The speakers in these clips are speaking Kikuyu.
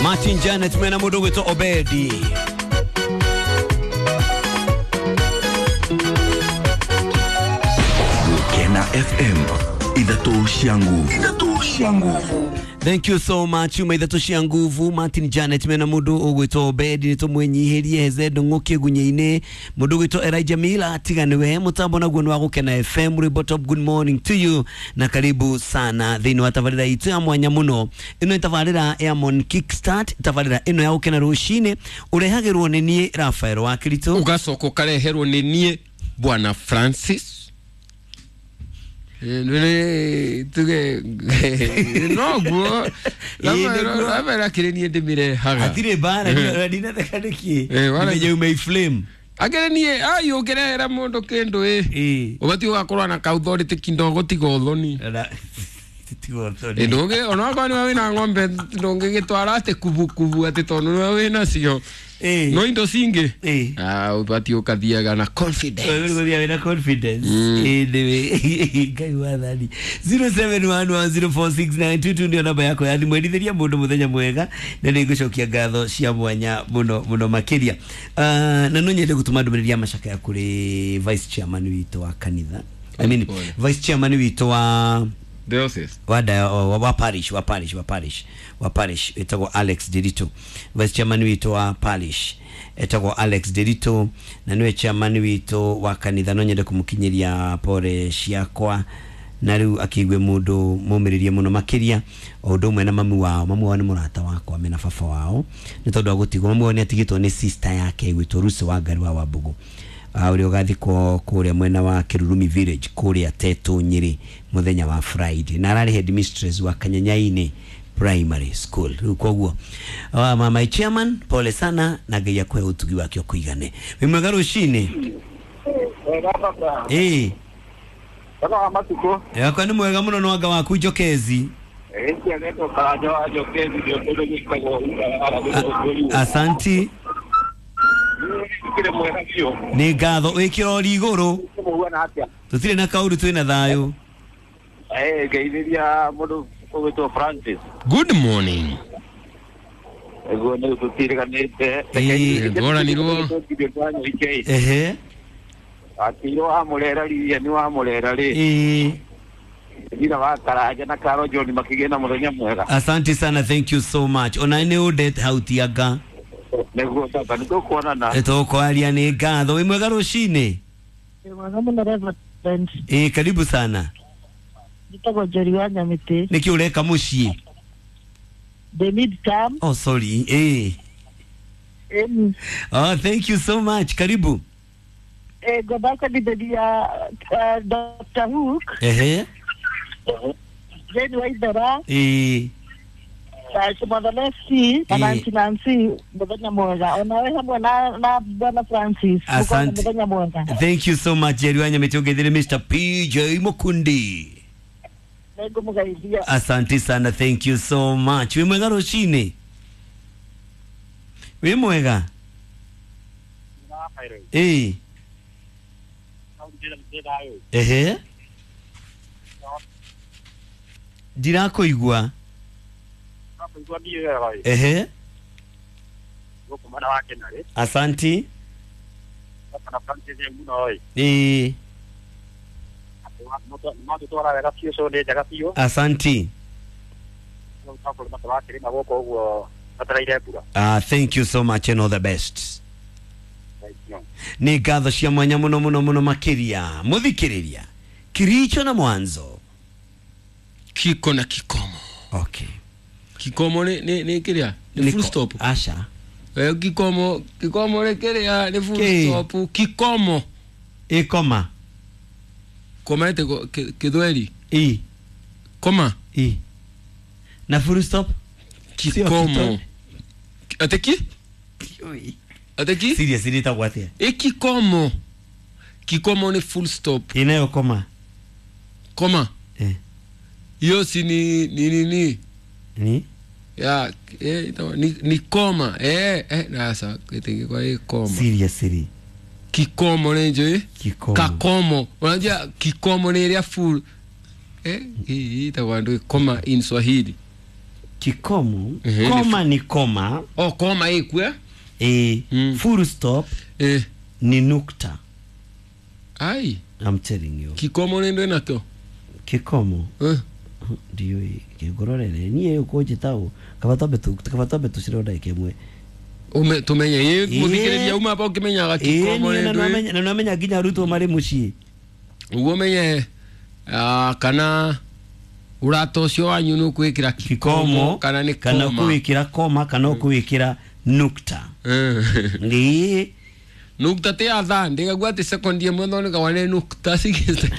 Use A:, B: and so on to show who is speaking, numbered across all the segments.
A: Martin Janet mena mundu gwitwo Obedi.
B: Gukena FM ithatũ cia nguvu, ithatũ cia nguvu.
A: Thank you so much uma ithatũ cia nguvu. Martin Janet mena mundu ugwitwo Obedi ni tumwinyihirie heze ndung'uki gunye-ini. Mundu ugwitwo Elijah Mila tiga niwe mutambo naguo ni wa Gukena FM. Rwimbo top, good morning to you na karibu sana thiini wa tabarira itu ya mwanya muno. Ino ni tabarira ya Mon Kickstart, tabarira ino ya Gukena rucini urehagirwo ni nie Rafael wa Kirito,
C: ugacoka ukareherwo ni nie Bwana Francis. Tuge noguo Rafael akĩrĩ niĩ ndĩmĩrehaga.
A: Hatirĩ mbara ndinatheka nĩkĩ menye ume flame
C: akĩrĩ niĩ ai ũngĩrehera mũndũ kĩndũ ĩ ũbatiĩ ũgakorwo na kauthority kidogo tiga ũthoni. Ndũngĩ onokorwo nĩwe wĩna ng'ombe ndũngĩgĩtwara atĩ kubukubu atĩ tondũ nĩwe wĩnacio no indo cingĩ ũbatiĩ ũkathiaga na confidence.
A: Ũgũthiaga na confidence ĩndĩ Ngai wathani. 0711046922 ndio namba yako ya thimũ. Endithĩria mũndũ mũthenya mwega na nĩ ngũcokia ngatho cia mwanya mũno mũno makĩria. Na no nyende gũtũma ndũmĩrĩri ya macakaya kũrĩ vice chairman witũ wa kanitha, I mean vice chairman witũ wa
C: diocese
A: wa parish wa parish wa parish wa parish etagwo Alex Derito. Vice chairman witũ wa parish etagwo Alex Derito na niwe chairman witũ wa kanitha. No nyende kumukinyiria pore ciakwa na riu akiigwe mundu mumiririe muno makiria o undu umwe na mamu wao. Mamu wao ni murata wakwa mena baba wao ni tondu wa gutigwo. Mamu wao ni atigitwo ni sister yake gwitwo Rusi wa Ngari wa Wambugu uria ugathikwo kuria mwena wa Kirurumi village kuria Tetu Nyeri muthenya wa Friday, na arari headmistress wa Kanyanyaini Primary School. Riu koguo mama chairman pole sana na Ngai akwe utugi wake ukuigane. Wi mwega rucini. Eh
D: baba matuko
A: yakwa ni mwega muno no anga waku Njokezi. Asanti ni ngatho wikira ori iguru tutire na kauru twina thayo.
D: Ngeithiria mundu ugwitwo Francis.
C: Good morning.
D: Ego ni tutiriganite
C: ngoranirwo
A: ehe
D: akiro wa murera ria ni wa murera ri thira wa Karanja na Karo John makigĩa na muthenya mwega.
A: Asante sana, thank you so much. Ona ni udet hautiaga
D: niguo tata nitukuonana
A: tukwaria. Ni ngatho. Wi mwega rucini.
E: Mwega muno Reverend.
A: Karibu sana.
E: Njĩtagwo Njeri wa Nyamĩtĩ.
A: Nĩkĩ ũreka mũciĩ?
E: The mid term.
A: Oh sorry. Oh thank you so much. Karibu.
E: Ngomba kwendithĩria Dr. Hook.
A: Ehe.
E: Jane Waithera. Mother na Nancy Nancy muthenya mwega onawe hamwe na Bwana Francis.
A: Asante.
E: Muthenya mwega.
A: Thank you so much Jerry wa Nyamĩtĩ. Ũngeithĩre Mr. PJ Mukundi.
E: Nĩngũmũgeithia.
A: Asante sana, thank you so much. Wi mwega rucini. Wi mwega. Ehe. Ndirakuigua. Ehe. Asanti. Asanti. Thank you so much and all the best. Ni ngatho cia mwanya muno muno muno makiria muthikiriria kiricho na mwanzo
C: kiko na kikomo.
A: Okay.
C: Kikomo ni kiria ni full stop.
A: Asha
C: kikomo kikomo ni kiria ni full stop. Kikomo
A: ikoma
C: koma ete kithweri
A: i
C: koma
A: i na full stop
C: kikomo ateki ateki
A: serious ni tagwatia
C: e kikomo kikomo ni full stop
A: inayo koma
C: koma hiyo si ni ni ni
A: ni
C: ya ni koma na sasa kwa hii koma
A: seriously
C: kikomo ni njo
A: kikomo
C: kakomo unajua kikomo ni ile full hii itakuwa ndio koma in Swahili.
A: Kikomo.
C: Ehe,
A: Koma ni koma.
C: O koma ĩkue.
A: Full stop ni nukta.
C: Ai.
A: I'm telling you.
C: Kikomo nĩ ndwĩ nakĩo.
A: Kikomo ndiũĩ kĩngũrorere niĩ ũkũnjĩta ũ kaba twambe tũcire ndagĩka ĩmwe.
C: Tumenye ĩ mũthikĩrĩria uma hapa ũkĩmenyaga kikomo nĩ ndwĩ.
A: Na nĩwamenya nginya arutwo marĩ mũciĩ.
C: Ũguo ũmenye kana ũrata ũcio wanyu nĩ ũkwĩkĩra kikomo kana nĩ
A: kana
C: koma.
A: ũkũwĩkĩra koma kana ũkũwĩkĩra nukta. Ĩĩ.
C: Nukta ti ya thaa ndĩgagua atĩ sekondi ĩmwe thondekaga nĩ nukta cigĩte.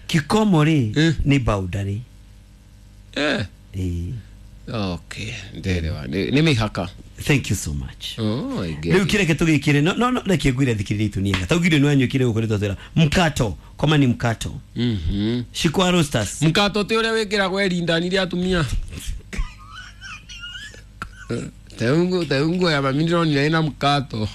A: Kikomo rĩ nĩ boundary. Ĩĩ.
C: Okay, nderewa nĩ mĩhaka.
A: Thank you so much.
C: Oh, I get
A: Rĩu
C: it.
A: kĩreke tũgĩkĩre no reke ngwĩre thikĩrĩria itũ niega taugire nĩ wanyuĩkire gũkũ nĩtwatwĩra mkato koma ni mkato. Shikwa roasters.
C: Mkato ti ũrĩa wĩkĩragwo ĩrindani rĩa atumia. Teungu ya mami ndĩronire ĩna mkato.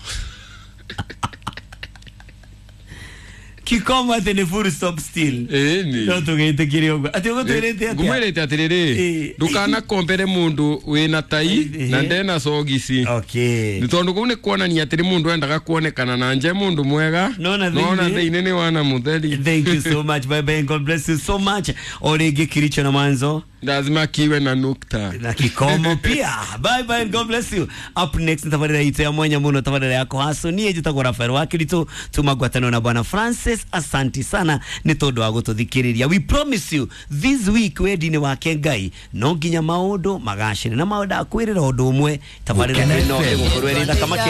A: Kikomo atĩ nĩ full stop still.
C: Ĩni.
A: No tũgĩtĩkĩre ũguo atĩ ũgũtwĩrĩte atĩa?
C: Ngũmwĩrĩte atĩrĩrĩ, ndũkanakombere mũndũ wĩna tai na ndena sogici.
A: Okay.
C: Nĩ tondũ kũu nĩ kuonania atĩrĩ mũndũ endaga kuonekana na nje mũndũ mwega
A: Nona
C: nona
A: thĩinĩ.
C: thĩinĩ nĩ wana mũtheri.
A: Thank you so much. Bye bye and God bless you so much. O rĩngĩ Kiricho na Mwanzo
C: lazima kiwe na nukta
A: na kikomo pia. Bye bye and God bless you. Up next ni tabarĩra itũ ya mwanya mũno, tabarĩra ya kũhaco. Niĩ njĩtagwo Rafael wa Kirito, tuma ngwatanĩro na Bwana Francis. Asanti sana nĩ tondũ wa gũtũthikĩrĩria. We promise you this week wendi-inĩ wake Ngai no nginya maũndũ magacĩre na maũndũ akwĩrĩra ũndũ ũmwe tabarĩra ĩno ĩgũkorwo ĩrĩ thaka makĩria.